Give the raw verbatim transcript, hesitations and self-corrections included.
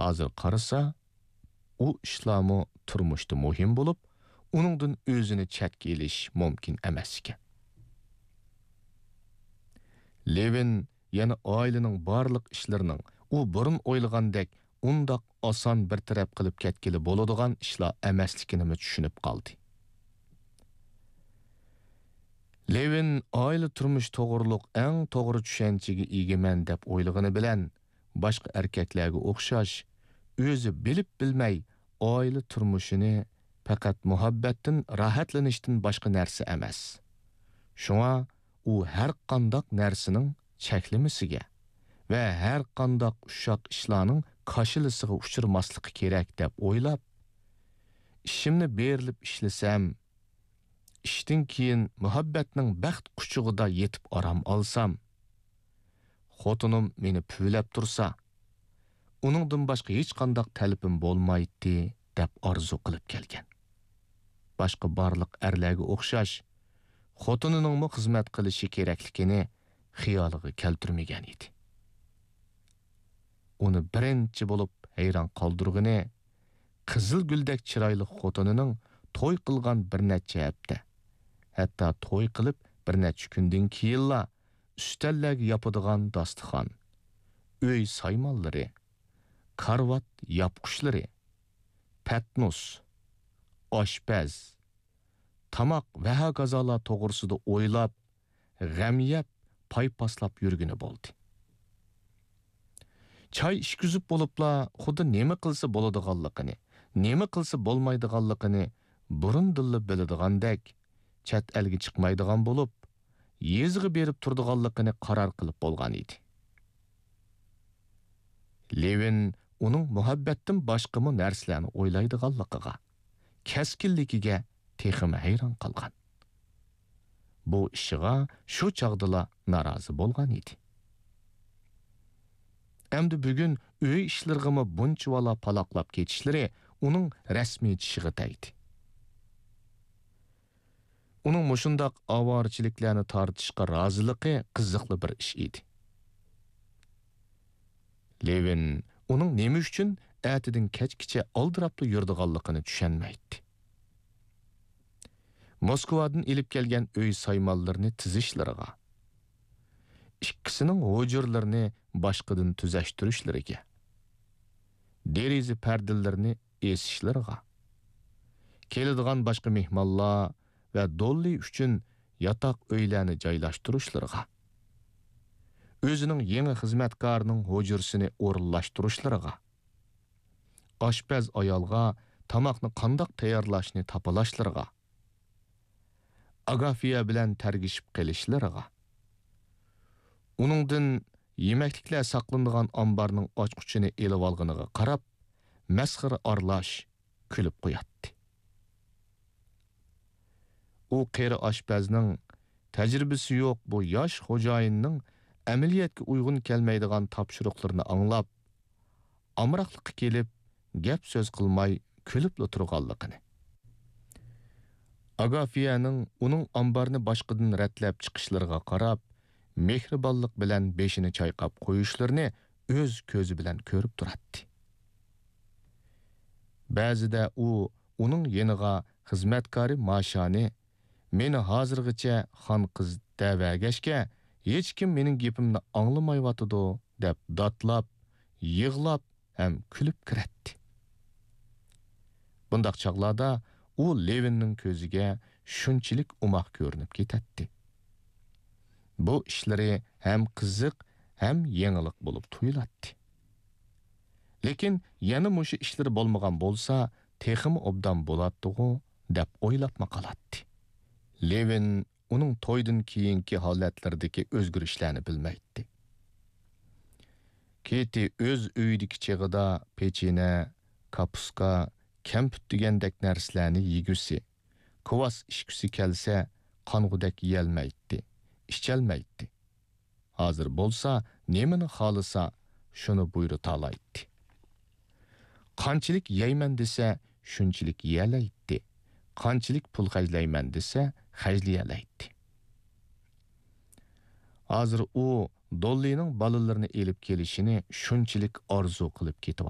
ھازىر قارىسا، ئۇ ئىشلارمۇ تۇرمۇشتا مۇھىم بولۇپ، ئۇنىڭدىن ئۆزىنى چەتكە ئېلىش مۇمكىن ئەمەس ئىكەن. لېۋىن يەنە ئائىلىنىڭ بارلىق ئىشلىرىنىڭ ئۇ بۇرۇن ئويلىغاندەك ئۇنداق ئاسان بىر تەرەپ قىلىپ كەتكىلى بولىدىغان ئىشلار ئەمەسلىكىنىمۇ چۈشىنىپ قالدى. لېۋىن ئائىلە تۇرمۇشى توغرۇلۇق ئەڭ توغرا چۈشەنچىگە ئىگىمەن دەپ ئويلىغىنى بىلەن، باشقا ئەركەكلەرگە ئوخشاش، ئۆزى بىلىپ بىلمەي ئائىلە تۇرمۇشىنى پەقەت مۇھەببەتتىن، راھەتلىنىشتىن باشقا نەرسە ئەمەس. شۇڭا ئۇ ھەر قانداق نەرسىنىڭ چەكلىمىسىگە ۋە ھەر قانداق ئۇششاق ئىشلارنىڭ كاشىلىسىغا ئۇچرىماسلىقى كېرەك دەپ ئويلاپ، ئىشىمنى بېرىلىپ ئىشلىسەم، ئىشتىن كېيىن مۇھەببەتنىڭ بەخت قۇچىقىدا يېتىپ ئارام ئالسام، خوتۇنۇم مېنى پۈۋلەپ تۇرسا، ئۇنىڭدىن باشقا ھېچقانداق تەلىپىم بولمايتتى، دەپ ئارزۇ قىلىپ كەلگەن. باشقا بارلىق ئەرلەرگە ئوخشاش، خوتۇنىنىڭمۇ خىزمەت قىلىشى كېرەكلىكىنى خىيالىغا كەلتۈرمىگەن ئىدى. ئۇنى بىرىنچى بولۇپ ھەيران قالدۇرغىنى، قىزىل گۈلدەك چىرايلىق خوتۇنىنىڭ توي قىلغان بىر نەچچە ھەپتە، ھەتتا توي قىلىپ بىر نەچچە كۈندىن كېيىنلا ئۈستەللەرگە ياپىدىغان داستىخان، ئۆي سايمانلىرى، كارىۋات ياپقۇچلىرى، پەتنۇس، ئاشپەز، تاماق ۋە ھاكازالار توغرىسىدا ئويلاپ، غەم يەپ، پايپاسلاپ يۈرگىنى بولدى. چاي ئىچكۈزۈپ بولۇپلا، خۇددى نېمە قىلسا بولىدىغانلىقىنى، نېمە قىلسا بولمايدىغانلىقىنى بۇرۇندىنلا بىلىدىغاندەك، چەت ئەلگە چىقمايدىغان بولۇپ، يېزىغا بېرىپ تۇرىدىغانلىقىنى قارار قىلىپ بولغان ئىدى. لېۋىن ئۇنىڭ مۇھەببەتتىن باشقىمۇ نەرسىلەرنى ئويلايدىغانلىقىغا، كەسكىنلىكىگە تېخىمۇ ھەيران قالغان. بۇ ئىشىغا شۇ چاغدىلا نارازى بولغان ئىدى. ئەمدى بۈگۈن ئۆي ئىشلىرىغىمۇ بۇنچىۋالا پالاقلاپ كېتىشلىرى ئۇنىڭ رەسمىي چىشىغا تەگدى. ئۇنىڭ مۇشۇنداق ئاۋارىچىلىكلەرنى تارتىشقا رازىلىقى قىزىقلا بىر ئىش ئىدى. لېۋىن ئۇنىڭ نېمە ئۈچۈن ئەتىدىن كەچكىچە ئالدىراپلا يۈرىدىغانلىقىنى چۈشەنمەيتتى. موسكۋادىن ئېلىپ كەلگەن ئۆي سايمانلىرىنى تىزىشلىرىغا، ئىككىسىنىڭ ھۇجرىلىرىنى باشقىدىن تۈزەشتۈرۈشلىرىگە، دېرىزە پەردىلىرىنى ئېسىشلىرىغا، كېلىدىغان باشقا مېھمانلار ۋە دوللى ئۈچۈن ياتاق ئۆيلەرنى جايلاشتۇرۇشلىرىغا، ئۆزىنىڭ يېڭى خىزمەتكارىنىڭ ھۇجرىسىنى ئورۇنلاشتۇرۇشلىرىغا، ئاشپەز ئايالغا تاماقنى قانداق تەييارلاشنى تاپىلاشلىرىغا، ئاگافىيە بىلەن تەرگىشىپ قېلىشلىرىغا، ئۇنىڭدىن يېمەكلىكلەر ساقلىنىدىغان ئامبارنىڭ ئاچقۇچىنى ئېلىۋالغىنىغا قاراپ، مەسخىرە ئارىلاش كۈلۈپ قوياتتى. ئۇ قېرى ئاشپەزنىڭ، تەجرىبىسى يوق بۇ ياش خوجايىننىڭ ئەمەلىيەتكە ئۇيغۇن كەلمەيدىغان تاپشۇرۇقلىرىنى ئاڭلاپ، ئامراقلىققا كېلىپ، گەپ سۆز قىلماي كۈلۈپلا تۇرغانلىقىنى، ئاگافىيەنىڭ ئۇنىڭ ئامبارنى باشقىدىن رەتلەپ چىقىشلىرىغا قاراپ، مېھرىبانلىق بىلەن بېشىنى چايقاپ قويۇشلىرىنى ئۆز كۆزى بىلەن كۆرۈپ تۇراتتى. بەزىدە ئۇ ئۇنىڭ يېنىغا خىزمەتكارى ماشانى، «مېنى ھازىرغىچە خان قىز دەۋەرگەچكە، ھېچكىم مېنىڭ گېپىمنى ئاڭلىمايۋاتىدۇ» دەپ داتلاپ، يىغلاپ ھەم كۈلۈپ كىرەتتى. بۇنداق چاغلاردا ئۇ لېۋىننىڭ كۆزىگە شۇنچىلىك ئوماق كۆرۈنۈپ كېتەتتى. بۇ ئىشلىرى ھەم قىزىق، ھەم يېڭىلىق بولۇپ تۇيۇلاتتى. لېكىن يەنە مۇشۇ ئىشلىرى بولمىغان بولسا، تېخىمۇ ئوبدان بولاتتىغۇ، دەپ ئويلاپمۇ قالاتتى. لېۋىن ئۇنىڭ تويدىن كېيىنكى ھالەتلىرىدىكى ئۆزگىرىشلەرنى بىلمەيتتى. كېتى ئۆز ئۆيىدىكى چېغىدا پېچىنە، كاپۇسكا، كەمپۈت دېگەندەك نەرسىلەرنى يېگۈسى، كۋاس ئىچكۈسى كەلسە، قانغۇدەك يېيەلمەيتتى، ئىچەلمەيتتى. ھازىر بولسا، نېمىنى خالىسا، شۇنى بۇيرۇتالايتتى. قانچىلىك يەيمەن دېسە، شۇنچىلىك يېيەلەيتتى. قانچىلىك پۇل خەجلەيمەن دېسە، خەجلىيەلەيتتى. ھازىر ئۇ دوللىنىڭ بالىلىرىنى ئېلىپ كېلىشىنى شۇنچىلىك ئارزۇ قىلىپ كېتىۋاتاتتى.